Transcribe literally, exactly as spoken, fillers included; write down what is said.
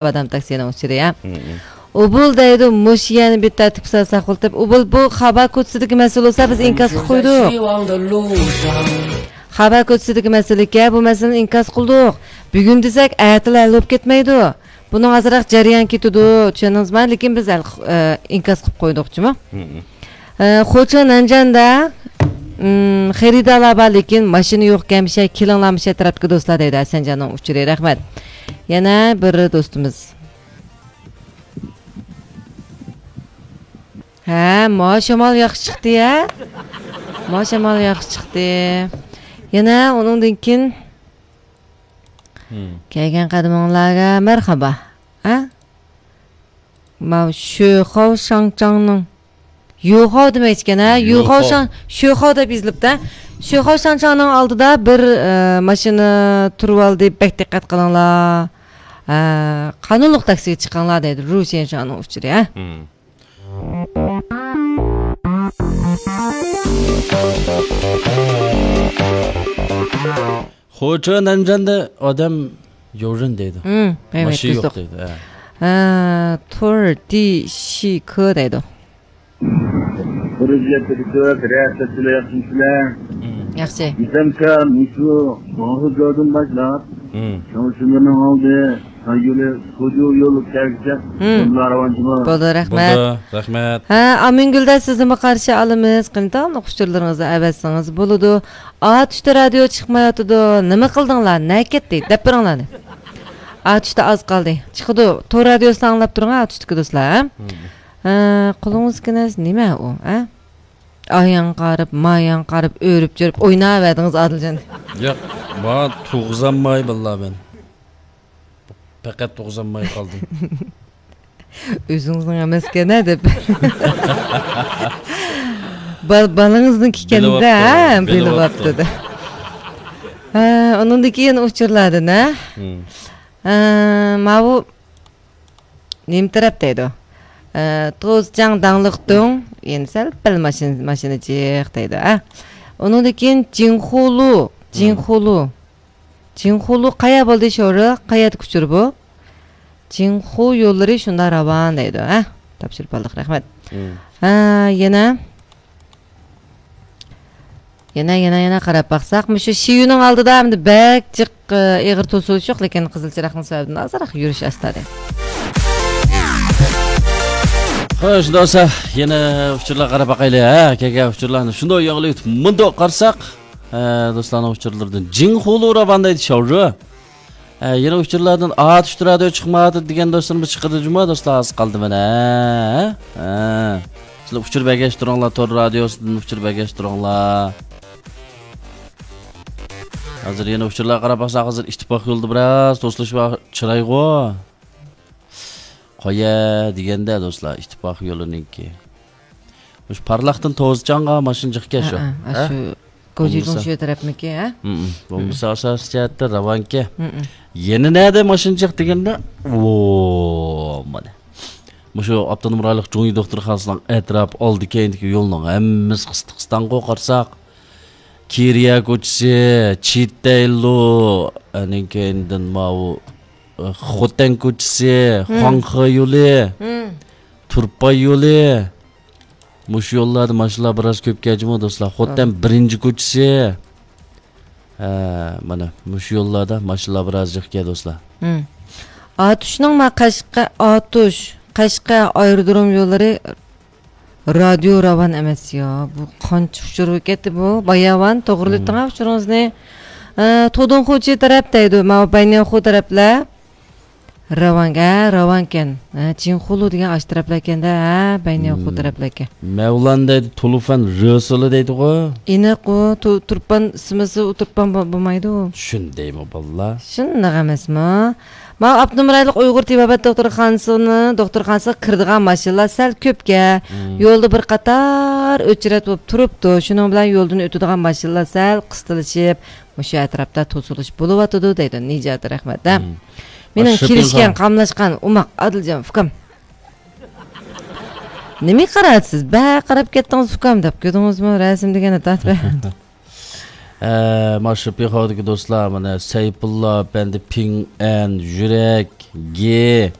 ئادەم تاكسىنىڭ ئۇچۇرى، ھە. مم. ئۇبۇل دەيدۇ، مۇشۇ يەرنى بىر تەرتىپكە سالساق بولۇپ، ئۇبۇل بۇ خابا كوچىسىدىكى مەسىلە بولسا، بىز ئىنكاس قىلىپ قويدۇق. خابا كوچىسىدىكى مەسىلىكەن، بۇ مەسىلىنى ئىنكاس قىلدۇق. بۈگۈن دېسەك، ئەتىلا ھەل بولۇپ كەتمەيدۇ. بۇنىڭ ئازراق جەريان كېتىدۇ، چۈشەندىڭىزمۇ؟ لېكىن بىز ھەل، ئە، ئىنكاس قىلىپ قويدۇق جۇمۇ. مم. ئە، خوچا نەنجاندا، ئىم، خېرىدارلار بار، لېكىن ماشىنا يوقكەن، مىشە كېلىڭلار، مىشە تەرەپكە دوستلار دەيدۇ ھەسەنجاننىڭ ئۇچۇرى. رەھمەت. يەنە بىر دوستىمىز. ھە، ما شامال ياخشى چىقتى، ھە؟ ما شامال ياخشى چىقتى. يەنە ئۇنىڭدىن كېيىن مم. كەلگەن قەدىمىڭلارغا مەرھابا. ھە؟ ماۋۇ شۆخاۋ شاڭچاڭنىڭ، يۇخاۋ دېمەكچىكەن، ھە؟ يۇخاۋ يۇخاۋ. شاڭ-، شۆخاۋ دەپ يېزىلىپتۇ. شۆخاۋ شاڭچاڭنىڭ ئالدىدا بىر، ئە، ماشىنا تۇرۇۋالدى، بەك دىققەت قىلىڭلار. ئە، قانۇنلۇق تاكسىگە چىقىڭلار دەيدۇ، رۇ شيەنشۇنىڭ ئۇچۇرى، ھە؟ مم. خوچا نەنجاندا ئادەم يوجۇن دەيدۇ. مم، ئەۋەت، ماشىنا يوق دېدۇق. دەيدۇ، ھە. ھە، تور دى شى كې دەيدۇ. بىرىنچى يەتتە كۆپ، رەھمەت سىلەر، ياخشىمۇسىلەر؟ مم. ياخشى. دېسەمكە، مۇشۇ شۇڭخۇجودىن باشلاپ، مم. شۇڭخۇجودىن ئالدى، ساييولى، سۇجۇ يولى كەلگۈچە، مم. بولدى، راۋانچىمۇ؟ بولدى، رەھمەت. بولدى، رەھمەت. ھە، ئامىنگۈلدە سىزنىمۇ قارشى ئالىمىز. قېنى داۋاملىق ئۇچۇرلىرىڭىزنى ئەۋەتسىڭىز بولىدۇ. ئاتۇشتا رادىيو چىقمايۋاتىدۇ، نېمە قىلدىڭلار، نەگە كەتتى، دەپ بېرىڭلارنى. ئاتۇشتا ئاز قالدى. چىقىدۇ، تور رادىيوسىنى ئاڭلاپ تۇرۇڭ، ئاتۇشتىكى دوستلار. مم. ھە، قولىڭىزدىكى نەرسە نېمە ئۇ، ھە؟ ئاياڭ قارىپ، ماياڭ قارىپ، ئۆرۈپ چۆرۈپ ئويناۋەردىڭىز، ئادىلجان. ياق، ما تۇغزانماي باللا مەن. پەقەت تۇغزانماي قالدىم. ئۆزىڭىزنىڭ ئەمەسكەن-ھە دەپ. بال-، بالىڭىزنىڭكى ئىكەن-دە، بىلىۋاپتۇ، ھە، بىلىۋاپتۇ. بىلىۋاپتۇ-دە. ھە، ئۇنىڭدىن كېيىن ئۇچۇرلاردىن، ھە؟ مم. ھە، ماۋۇ نېمە تەرەپ دەيدۇ؟ ئە، توزجاڭ داڭلىقتۇڭ، يەنە سەل پەل ماشىنا، ماشىنا جىق دەيدۇ، ھە؟ ئۇنىڭدىن كېيىن جىڭخۇلۇ، مم. جىڭخۇلۇ. جىڭخۇلۇ قايا بولدى شورۇ؟ قايادىكى ئۇچۇر بۇ؟ جىڭخۇ يوللىرى شۇنداق راۋان دەيدۇ، ھە؟ تاپشۇرۇپ ئالدۇق، رەھمەت. مم. ھە، يەنە. يەنە، يەنە، يەنە قاراپ باقساق، مۇشۇ شىيۈنىڭ ئالدىدا ئەمدى بەك جىق، ئېغىر توسۇلۇش يوق، لېكىن قىزىل چىراغنىڭ سەۋەبىدىن ئازراق يۈرۈش ئاستا دەيدۇ. خوش، دوستلار، يەنە ئۇچۇرلارغا قاراپ باقايلى، ھە، كەلگەن ئۇچۇرلارنى شۇنداق ياڭلىۋېتىپ، مۇنداق قارىساق، ھە، دوستلارنىڭ ئۇچۇرلىرىدىن جىڭخۇلۇ راۋان دەيدۇ، شاۋجۇ. ھە، يەنە ئۇچۇرلاردىن ئاتۇشتا رادىيو چىقمايۋاتىدۇ دېگەن دوستلىرىمىز چىقىدۇ جۇمۇ، دوستلار، ئاز قالدى مانا. ھە. سىلەر ئۇچۇر بەرگەچ تۇرۇڭلار، تور رادىيوسىدىن ئۇچۇر بەرگەچ تۇرۇڭلار. ھازىر يەنە ئۇچۇرلارغا قاراپ باقساق، ھازىر ئىتتىپاق يولىدا بىراز توسۇلۇش بار، چىرايغۇ. قويە دېگەندە، دوستلار، ئىتتىپاق يولىنىڭكى. مۇشۇ پارلاقتىن توزچاڭغا ماشىنا جىقكەن شۇ. ھە، ھە، ھە؟ شۇ گوجىدۇڭ بولمىسا شۇ تەرەپمىكى، ھە؟ مم. بولمىسا ئاساسىي جەھەتتە راۋانكى. مم. يەنە نەدە ماشىنا جىق دېگەندە، ۋو، مانا. مۇشۇ ئاپتونوم رايونلۇق جۇڭيى دوختۇرخانىسىنىڭ ئەتراپ ئالدى كەينىدىكى يولنىڭ ھەممىسى قىستىق قىستاڭغۇ قارىساق. كىرىيە كوچىسى، چىتەيلۇ، ئەنىڭ كەينىدىن ماۋۇ، ئە، خوتەن كوچىسى، مم. خۇاڭخې يولى، مم. تۇرپان يولى. مۇشۇ يوللاردا ماشىنىلار بىراز كۆپ كەجمۇ، دوستلار. خوتەن بىرىنچى كوچىسى. ھە، مانا، مۇشۇ يوللاردا ماشىنىلار بىراز جىق كەل، دوستلار. ھىم. ئاتۇشنىڭ ما قەشقەر، ئاتۇش، قەشقەر ئايرودروم يوللىرى رادىيو راۋان ئەمەس يا. بۇ قانچە ئۇچۇر بولۇپ كەتتى بۇ. باياۋان، توغرىلىتىڭ ھە ئۇچۇرىڭىزنى. ئە، تودۇنخۇچى تەرەپ دەيدۇ. ماۋۇ بەينىياخۇ تەرەپلەر. راۋانكەن، ھە، راۋانكەن. ھە، جىنخۇلۇ دېگەن ئاشۇ تەرەپلەركەن-دە، ھە، بەينىياخۇ تەرەپلەركەن. مەۋلان دەيدۇ، تۇلۇفەن رۆسىلى دەيدىغۇ. ئېنىق ئۇ، تۇ-، تۇرپان ئىسمىسى ئۇ تۇرپان بو-، بولمايدۇ. شۇندايمۇ باللا؟ شۇنداق ئەمەسمۇ؟ ماۋۇ ئاپتونوم رايونلۇق ئۇيغۇر تېبابەت دوختۇرخانىسىنى، دوختۇرخانىسىغا كىرىدىغان ماشىنىلار سەل كۆپكەن. يولدا بىر قاتار ئۆچرەت بولۇپ تۇرۇپتۇ. شۇنىڭ بىلەن يولدىن ئۆتىدىغان ماشىنىلار سەل قىستىلىشىپ، مۇشۇ ئەتراپتا توسۇلۇش بولۇۋاتىدۇ دەيدۇ. نىجات، رەھمەت، ھە. مېنىڭ كېلىشكەن، قاملاشقان ئوماق ئادىلجان ئۇكام. نېمىگە قاراۋاتىسىز؟ بەك قاراپ كەتتىڭىز ئۇكام دەپ، كۆردىڭىزمۇ؟ رەسىم دېگەننى تارتىپ. ئە، ما شىپىخاۋدىكى دوستلار، مانا سەيپۇللا ئەپەندى، پىڭئەن، يۈرەك، گې.